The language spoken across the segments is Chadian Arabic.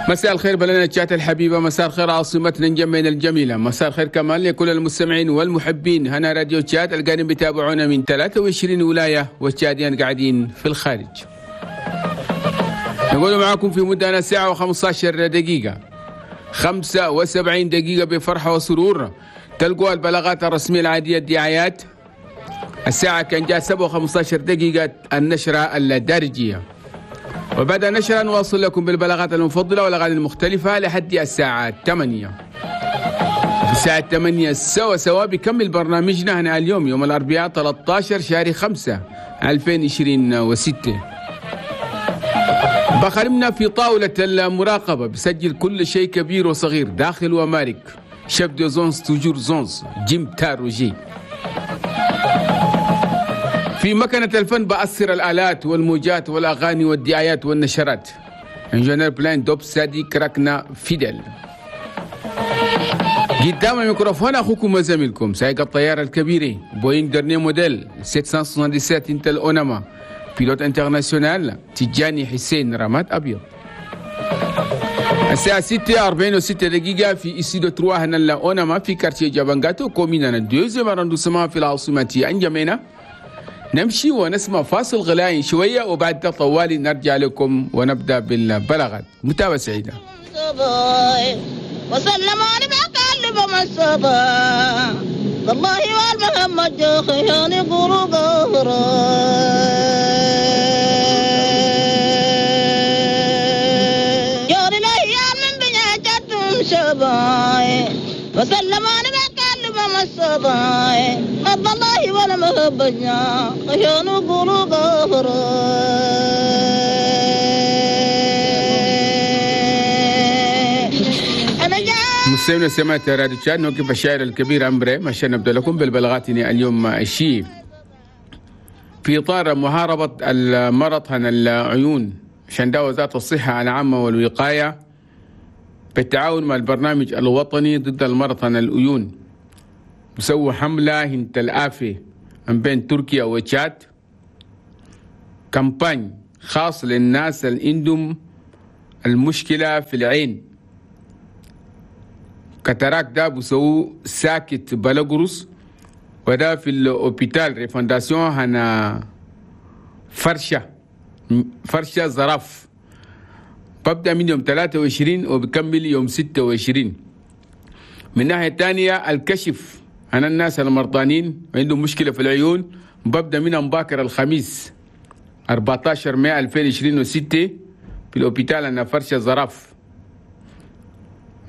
مساء الخير بلدنا تشاد الحبيبة، مساء الخير عاصمتنا نجمين الجميلة، مساء الخير كمان لكل المستمعين والمحبين هنا راديو تشاد القاعدين بيتابعونا من 23 ولاية والتشاديين قاعدين في الخارج. نقول معاكم في مدة ساعة و15 دقيقة 75 دقيقة بفرحة وسرور. تلقوا البلاغات الرسمية العادية الدعايات. الساعة كان جاء 7:15 دقيقة النشرة الدارجية، وبعد النشرة نواصل لكم بالبلاغات المفضلة والأغاني المختلفة لحد الساعة 8. في الساعة 8 سوا سوا بكمل برنامجنا هنا اليوم يوم الأربعاء 13 شهر 5 2026. بخرمنا في طاولة المراقبة بسجل كل شيء كبير وصغير داخل ومارك. chef de zone toujours zone جيم تاروجي. في مكنة الفن بأثر الآلات والموجات والأغاني والدعايات والنشرات. ingénieur بلان دوب سادي كراكنا فيدل. قدام الميكروفون أخوكم وزميلكم سائق الطيارة الكبيرة بوينغ dernier modèle 777 انتل أوناما pilote international تجاني حسين رماد أبيض. الساعة 6:46 في استوديو 3 هنا لأوناما في quartier جابانغاتو commune deuxième arrondissement في العاصمة أنجمينا. نمشي ونسمع فاصل غلائي شوية وبعد طوالي نرجع لكم ونبدأ بالبلاغات. متابعة سعيدة. وسلم على بقلب مصطفى والله والمحمد خياني قلوب جاري الايام من بنياتهم شباي وسلم على بقلب مصطفى الله ولا مهبنا خياني قلوب. مستمعينا سمعت راديو تشاد نوقف الشاعر الكبير أمبري عشان نبدأ لكم بالبلاغات اليوم الشيء في إطار محاربة المرض عن العيون عشان ده وزارة الصحة العامة والوقاية بالتعاون مع البرنامج الوطني ضد المرض عن العيون بسووا حملة هنت الآفة من بين تركيا وتشاد، campagne خاص للناس اللي عندهم المشكلة في العين. cataracte ده بسووا ساكت بلغروس وده في ال hôpital refondation هنا فرشة زراف، ببدأ من يوم 23 وبكمل يوم 26. من ناحية تانية الكشف هنا الناس المرضانين عندهم مشكلة في العيون ببدأ من مباكر الخميس 14 مايو 2026 في ال hôpital هنا فرشة زراف.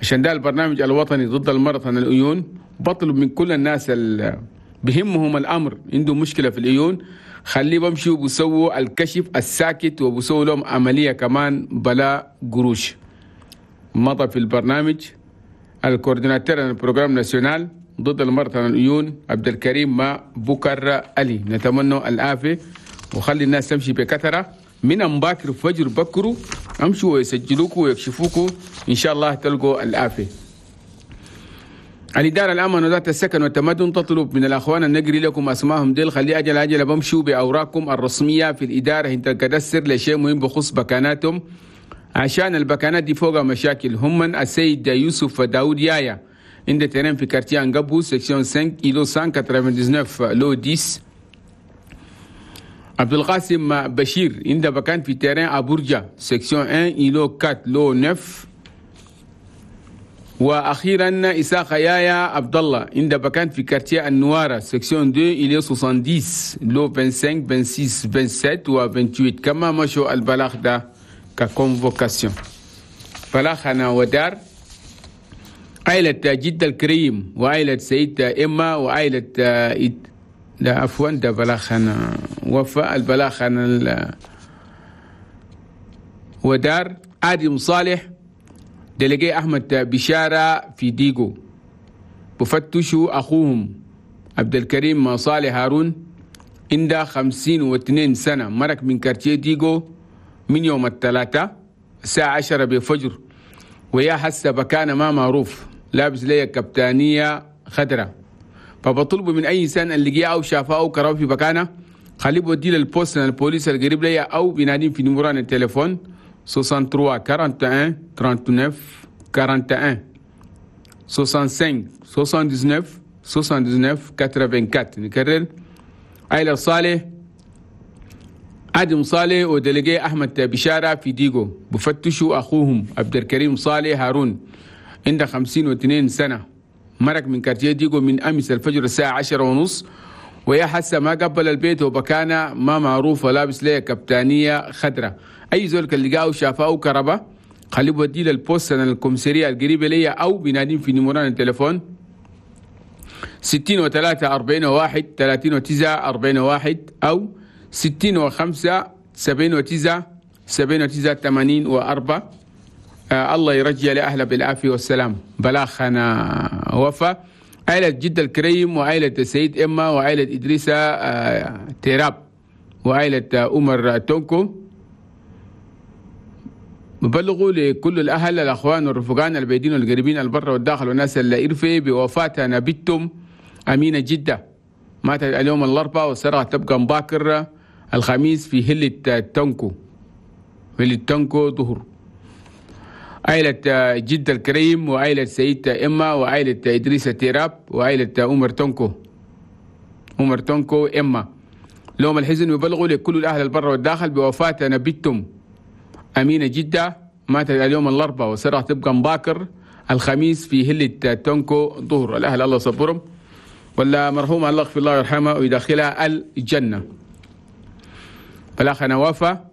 عشان ده البرنامج الوطني ضد المرض عن العيون بطلب من كل الناس اللي بهمهم الأمر عندهم مشكلة في العيون خليه بمشوا بسووا الكشف الساكت وبسووا لهم عملية كمان بلا قروش. مضى في البرنامج ال coordinateur ال programme national ضد المرض عن العيون عبد الكريم ما بكر علي. نتمنى العافية وخلي الناس تمشي بكثرة من مباكر فجر بكروا امشوا ويسجلوكوا ويكشفوكوا ان شاء الله تلقوا العافية. الإدارة العامة وزارة السكن والتمدن تطلب من الأخوان النقري لكم أسمائهم ديل خلي أجل أجل بمشوا بأوراقكم الرسمية في الإدارة انت الكدسر لشيء مهم بخص بكاناتهم عشان البكانات دي فوقها مشاكل. هم من السيد يوسف داود يايا عند terrain في quartier أنقبو section 5 îlot 199 lot 10. عبد القاسم بشير عند بكان في terrain أبورجا section 1 îlot 4 lot 9. واخيرا اساق يايا عبد الله عند بكان في quartier النوارة section 2 îlot 70 lot 25 26 27 و 28. كما مشوا البلاغ ده ك convocation. بلاغنا ودار عائلة جدة الكريم وعائلة سيد إما وعائلة لا عفوا ده بلاغنا وفاء البلاغنا ودار آدم صالح délégué أحمد بشارة في ديغو بفتشوا أخوهم عبد الكريم صالح هارون عنده 52 سنة مرق من quartier ديغو من يوم الثلاثاء الساعة 10 بفجر ويا حسب بكان ما معروف لابس لي كبتانية خضراء. فبطلب من أي إنسان اللي جه أو شافه أو كراه في بكانه خليه بوديه لل poste البوليس القريب لي أو بينادين في نمران التليفون 0 63 41 39 41 65 79 79 84. نكرر عائلة صالح آدم صالح و délégué أحمد بشارة في ديغو بفتشوا أخوهم عبد الكريم صالح هارون عنده 52 سنة، مرق من quartier ديغو من أمس الفجر الساعة 10:30، ويا حسه ما قبل البيت وبكانة ما معروفة، لابس ليه كبتانية خضرة. أي زول كان لقاه شافه كربة خليه بوديه لل poste ال commissariat القريبة ليا أو بينادين في numéro التليفون 63 41 39 41 أو 65 79 79 84. الله يرجع لأهله بالعافية والسلام. بلاخنا وفا عائلة جد الكريم وعائلة السيد إما وعائلة إدريسة تيراب وعائلة عمر تونكو. ببلغوا لكل الأهل الأخوان والرفقان البعيدين والقريبين البر والداخل والناس اللي إرفي بوفاة نبيتهم أمينة جدة، ماتت اليوم الأربعاء والسرعة تبقى مباكر الخميس في هلة تونكو، هلة تونكو ظهر. عائلة جدة الكريم وعائلة سيد إما وعائلة إدريس تيراب وعائلة عمر تونكو، عمر تونكو إما. لهم الحزن يبلغوا لكل الأهل البر والداخل بوفاة نبيتهم أمينة جدة، ماتت اليوم الأربعاء والسرعة تبقى مباكر الخميس في هلة تونكو ظهر. الأهل الله صبرهم، ولا مرحوم الله يغفر الله ويرحمه ويدخلها الجنة. بلاخنا وفا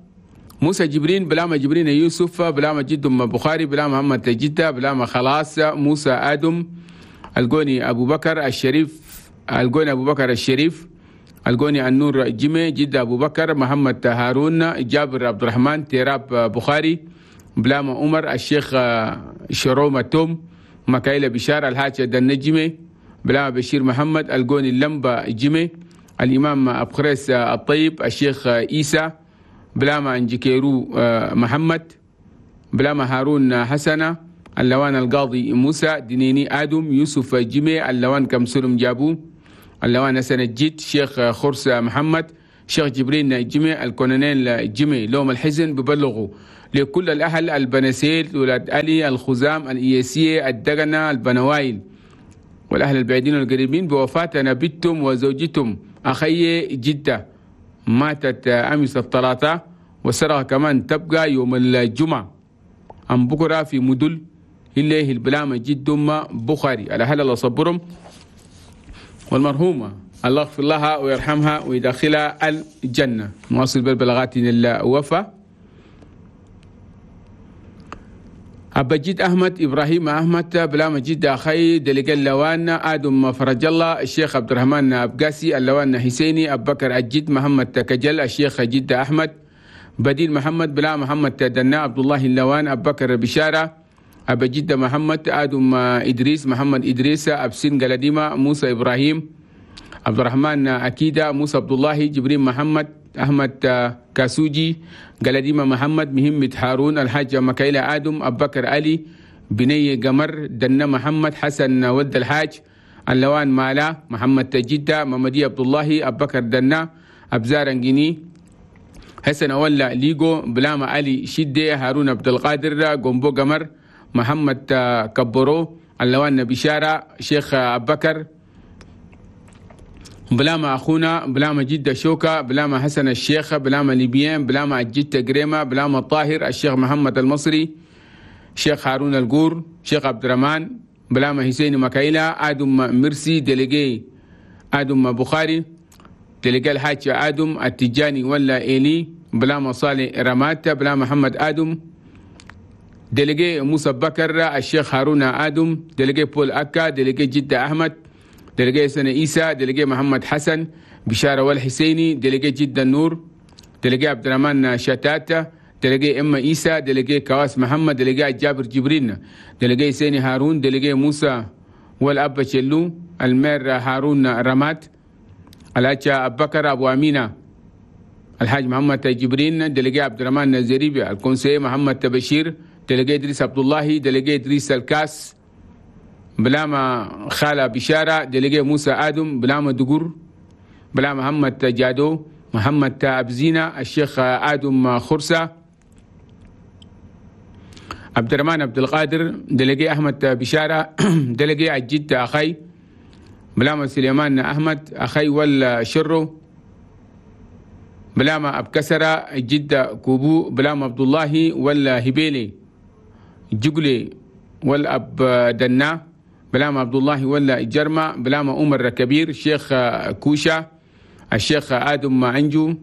موسى جبرين بلاما جبرين يوسف بلاما جد بخاري بلاما محمد جدة بلاما خلاص موسى آدم القوني أبو بكر الشريف القوني أبو بكر الشريف القوني النور جيمي جدة أبو بكر محمد هارون جابر عبد الرحمن تيراب بخاري بلاما عمر الشيخ شرومة توم مكايلة بشار الحاج النجمي بلاما بشير محمد القوني اللمبة جيمي الإمام أبخريس الطيب الشيخ إيسى بلاما أنجكيرو محمد بلاما هارون حسنة اللوان القاضي موسى دينيني آدم يوسف جيمي اللوان كمسلم جابو اللوان حسن الجيت شيخ خرسة محمد شيخ جبرين جيمي الكولونيل جيمي. لوم الحزن ببلغوا لكل الأهل البنسيل ولاد علي الخزام الإياسية الدقنة البنوايل والأهل البعيدين والقريبين بوفاة نبيتهم وزوجتهم أخي جدة، ماتت أمس الثلاثاء وسرها كمان تبقى يوم الجمعة أم بكرة في مدل اللي البلامة جدهم بخاري. الأهل الله صبرهم والمرحومة الله يغفر لها ويرحمها ويدخلها الجنة. نواصل بالبلاغات الوفا. أبجد أحمد إبراهيم أحمد بلا مجد أخي دلق اللوان آدم فرج الله الشيخ عبد الرحمن أبقاسي اللوان حسيني أبو بكر الجد محمد كجل الشيخ جد أحمد بديل محمد بلا محمد دنا عبد الله اللوان أبو بكر بشارة أبجد محمد آدم إدريس محمد إدريس أبسين قلديمة موسى إبراهيم عبد الرحمن أكيدة موسى عبد الله جبريل محمد أحمد كاسوجي قلديمة محمد مهمة هارون الحاج مكايلة آدم أبو بكر علي بني قمر دنا محمد حسن ود الحاج اللوان مالا محمد جدة ممدي عبد الله أبو بكر دنا أبزار انجيني حسن أولا ليغو بلاما علي شدة هارون عبد القادر قنبو قمر محمد كبرو اللوان بشارة شيخ أبو بكر بلاما أخونا بلاما جدة شوكة بلاما حسن الشيخ بلاما ليبيان بلاما الجدة قريمة بلاما الطاهر الشيخ محمد المصري شيخ هارون القور شيخ عبد الرحمن بلاما حسين مكايلة آدم مرسي délégué آدم بخاري délégué الحاج آدم التجاني ولا إيلي بلاما صالح رمات بلاما محمد آدم délégué موسى بكر الشيخ هارون آدم délégué بول أكا délégué جدة أحمد délégué سنة إيسى délégué محمد حسن بشارة والحسيني délégué جدة النور délégué عبد الرحمن شتاتة délégué إما إيسى délégué كواس محمد délégué جابر جبرين délégué سيني هارون délégué موسى والأب شلو المير هارون رمات الحاج أبو بكر أبو أمينة الحاج محمد جبرين délégué عبد الرحمن الزريبي ال conseiller محمد بشير délégué إدريس عبد الله délégué إدريس الكاس بلاما خالة بشارة délégué موسى آدم بلاما دقور بلا محمد جادو محمد أبزينة الشيخ آدم خرسة عبد الرحمن عبد القادر دلقي أحمد بشارة دلقي الجد أخي بلامة سليمان أحمد أخي ولا شرو بلامة أبكسرة الجدة كوبو بلامة عبد الله ولا هبيلي جقلي والأب دنا بلامة عبد الله ولا جرمة بلامة عمر كبير شيخ كوشة الشيخ آدم عنجو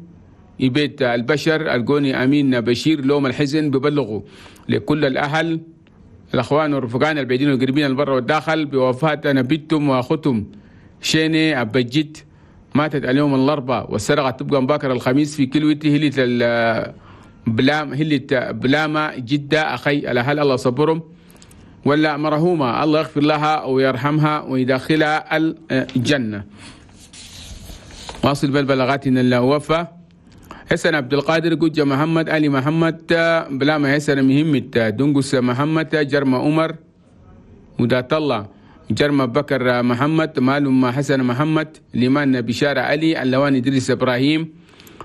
بيت البشر القوني أمين بشير. لوم الحزن ببلغوا لكل الأهل الأخوان والرفقان البعيدين والقريبين البر والداخل بوفاة نبيتم وأختم شيني أبجد، ماتت اليوم الأربعاء والسرقة تبقى مباكر الخميس في كلوته هلة بلام هلة بلامة جدة أخي الأهل الله صبرهم ولا مرهومة الله يغفر لها ويرحمها ويدخلها الجنة. واصل بالبلاغات الوفا حسن عبد القادر جوجة محمد علي محمد بلامة حسن مهمة دنقس محمد جرمة عمر ودات الله جرمة بكر محمد مالum حسن محمد لمان بشارة علي اللوان إدريس إبراهيم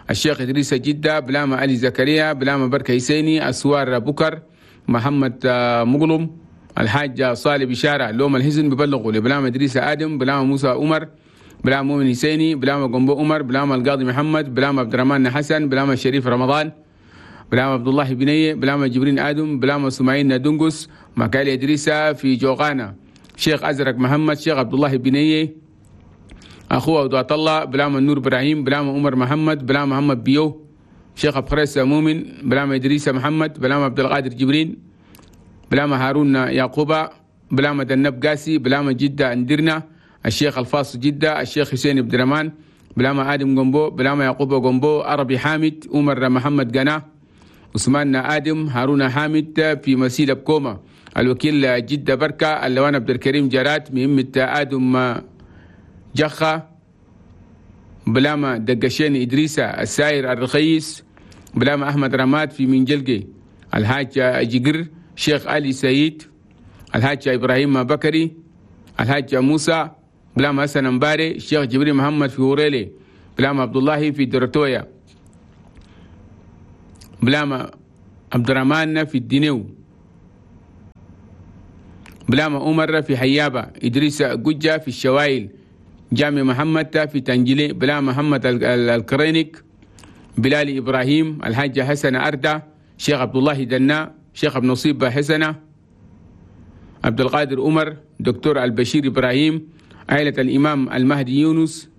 الشيخ إدريس جدة بلامة علي زكريا بلامة بركة حسيني أسوار بكر محمد مغلم الحاج صالح بشارة. لوم الحزن ببلغوا لبلامة إدريس آدم بلامة موسى عمر بلامة مؤمن حسيني بلامة قنبو عمر بلامة القاضي محمد بلامة عبد الرحمن حسن بلامة شريف رمضان بلامة عبد الله بنية بلامة جبرين آدم بلامة سماعين دنقس مكالي إدريس في جوغانا شيخ أزرق محمد شيخ عبد الله بنية أخوه عبد الله بلامة النور إبراهيم بلامة عمر محمد بلامة محمد بيو شيخ أبخريس مؤمن بلامة إدريس محمد بلامة عبد القادر جبرين بلامة هارون يعقوبة بلامة دنب قاسي بلامة جدة اندرنا الشيخ الفاص جدة الشيخ حسين عبد الرحمن بلامة آدم قنبو بلامة يعقوب قنبو عربي حامد عمر محمد قنا عثمان آدم هارون حامد في مسيلة بكومة الوكيل جدة بركة اللوان عبد الكريم جرات مهمة آدم جخة بلامة دقشين إدريسة الساير الرخيص بلامة أحمد رماد في منجلقي الحاج جقر شيخ علي سيد الحاج إبراهيم بكري الحاج موسى بلامة حسن مباري الشيخ جبريل محمد في وريلي بلامة عبد الله في درتويا بلامة عبد الرحمن في الدينيو بلامة عمر في حيابة إدريس جوجة في الشوايل جامع محمد في تنجلي بلامة محمد الكرينيك بلال إبراهيم الحاج حسن أردة شيخ عبد الله دنا شيخ ابن نصيب حسنة عبد القادر عمر دكتور البشير إبراهيم عائلة الإمام المهدي يونس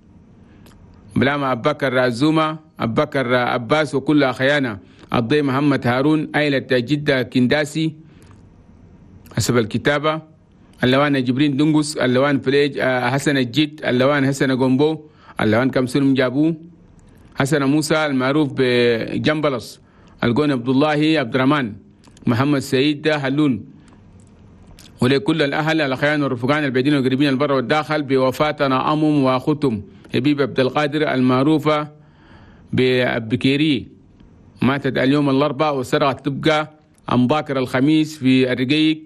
بلامة أبو بكر الزومة أبو بكر عباس وكل أخيانا الضي محمد هارون عائلة جدة كنداسي حسب الكتابة اللوان جبرين دنقس اللوان فليج حسن الجد اللوان حسن قنبو اللوان كمسلم جابو حسن موسى المعروف بجنبلس القون عبد الله عبد الرحمن محمد سعيد هلول. ولكل الأهل الأخيان والرفقان البعيدين والقريبين البر والداخل بوفاتنا أمم وأختم حبيب عبد القادر المعروفة بكيري ماتت اليوم الأربعاء والسرعة تبقى أم باكر الخميس في الرقيق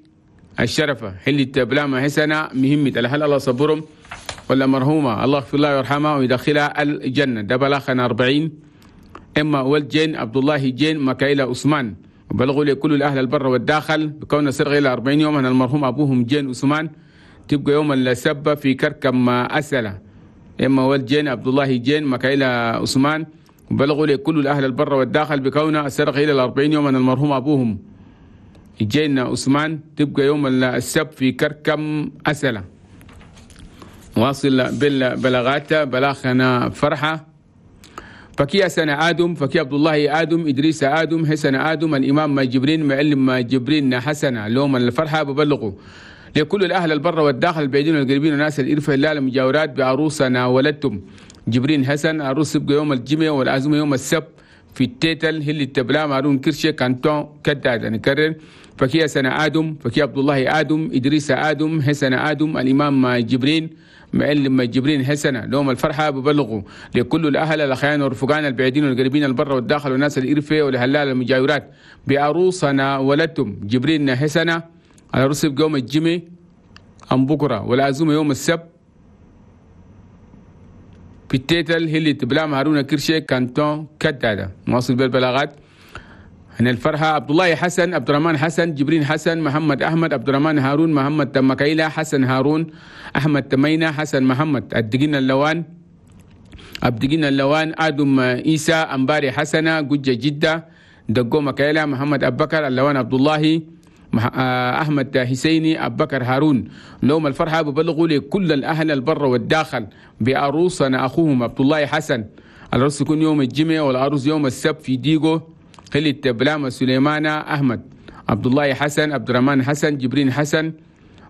الشرفة حلة بلامة حسنة مهمة الأهل الله صبرهم ولا مرحومة الله يغفر لها ويرحمها ويدخلها الجنة. ده بلاخنا 40 إما ولد جين عبد الله جين مكايلة عثمان وبلغوا لكل الأهل البر والداخل بكون سرغ إلى 40 يوم أن المرحوم أبوهم جين عثمان تبقى يوم السبة في كركم أسلة إما ولد جين عبد الله جين مكايلة عثمان وبلغوا لكل الأهل البر والداخل بكون سرغ إلى 40 يوم أن المرحوم أبوهم جين عثمان تبقى يوم السبت في كركم أسلة. واصل بالبلاغات بلاغنا فرحة فكي سنة آدم فكي عبد الله آدم إدريس آدم حسن آدم الإمام جبرين معلم جبرين حسن لوم الفرحة ببلغوا لكل الأهل البر والداخل البعيدين والقريبين وناس الإرفة الله المجاورات بعروسنا ولدتم جبرين حسن عروس يبقى يوم الجمعة والعزومة يوم السبت في التيتل هل التبلا مارون كرشة كانتون كداد. نكرر فكي سنة آدم فكي عبد الله آدم إدريس آدم حسن آدم الإمام جبرين معلم جبرين حسنة لهم الفرحة ببلغوا لكل الأهل الأخيان والرفقان البعيدين والقريبين البر والداخل والناس الإرفة والهلال المجاورات بعروسنا ولدتم جبرين حسنة العروس يبقى يوم الجمعة أم بكرة والعزومة يوم السبت في التيتل هي اللي تبلام هارون كرشي كانتون كدادة. مواصل بالبلاغات هنا الفرحة عبد الله حسن، عبد الرحمن حسن، جبرين حسن، محمد أحمد، عبد الرحمن هارون، محمد تمكيلة، حسن هارون، أحمد تمينة، حسن محمد، أدقين اللوان، أبدقين اللوان، آدم إيسى، أمباري حسنة، جوجة جدة، دقو مكيلة، محمد أبو بكر، اللوان عبد الله، أحمد حسيني، أبو بكر هارون. لهم الفرحة ببلغوا لكل الأهل البر والداخل بعروسنا أخوهم عبد الله حسن. العرس يكون يوم الجمعة والعروس يوم السبت في ديغو خلية بلامة سليمانة أحمد، عبد الله حسن، عبد الرحمن حسن، جبرين حسن،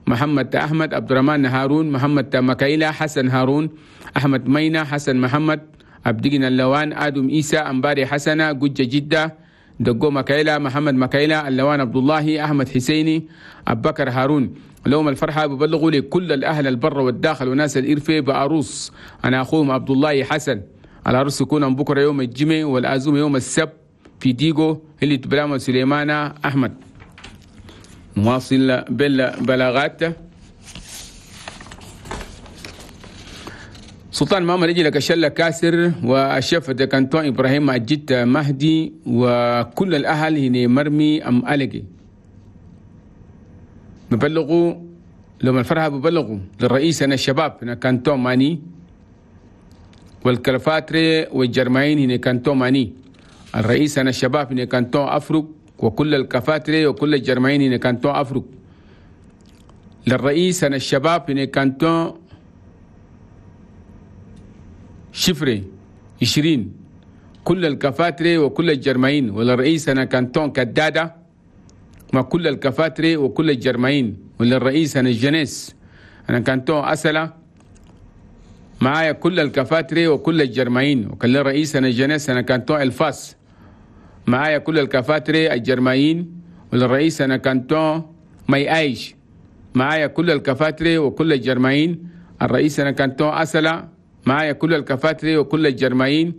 محمد أحمد، عبد الرحمن هارون، محمد مكايلة، حسن هارون، أحمد مينا، حسن محمد، عبدقنا اللوان، آدم إيسى، أمباري حسنة، جوجة جدة، دقو مكايلة، محمد مكايلة، اللوان عبد الله، أحمد حسيني، أبو بكر هارون. لهم الفرحة ببلغوا لكل الأهل البر والداخل وناس الإرفة بعروس أنا أخوهم عبد الله حسن. العروس يكون بكرة يوم الجمعة والعزومة يوم السبت في ديغو اللي تبلامة سليمانة أحمد. نواصل بالبلاغات. سلطان ماما رجل كشلة كاسر والشيف كانتون إبراهيم أجيت مهدي وكل الأهل هنا مرمي أم ألقي ببلغوا لما الفرحة ببلغوا للرئيس أنا الشباب هنا كانتون ماني والكلفاتري والجرمين هنا كانتون ماني. الرئيس أنا الشباب هنا كانتون أفرق وكل الكفاتري وكل الجرمين هنا كانتون أفرق. للرئيس أنا الشباب هنا كانتون شفري 20 كل الكفاتري وكل الجرمين. وللرئيس أنا كانتون كدادة مع كل الكفاتري وكل الجرمين. وللرئيس أنا الجنس أنا كانتون أسلة معايا كل الكفاتري وكل الجرمين. وكل الرئيس أنا الجنس أنا كانتون الفاس معايا كل الكفاتري الجرمين. وللرئيس أنا كانتون مي أيش معايا كل الكفاتري وكل الجرمين. الرئيس أنا كانتون أسلة معايا كل الكفاتري وكل الجرمين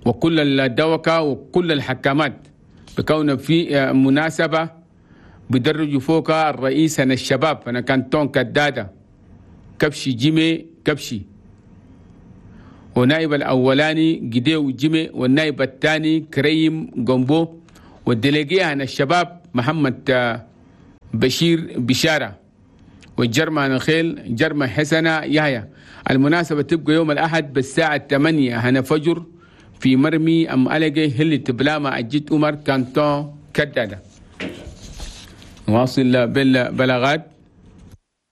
وكل الدوكة وكل الحكامات. بكون في مناسبة بدرجوا فوق الرئيس أنا الشباب أنا كانتون كدادة كبشي جيمي كبشي، ونائب الأولاني جديو جيمي، والنائب الثاني كريم جومبو، والدليجية أنا الشباب محمد بشير بشارة، والجرمى الخيل جرمى حسنة يحيى. المناسبة تبقى يوم الأحد بالساعة 8 هنا فجر في مرمي أم ألقي هل تبلاما أجيت عمر كانتون كدادة. نواصل بالبلاغات.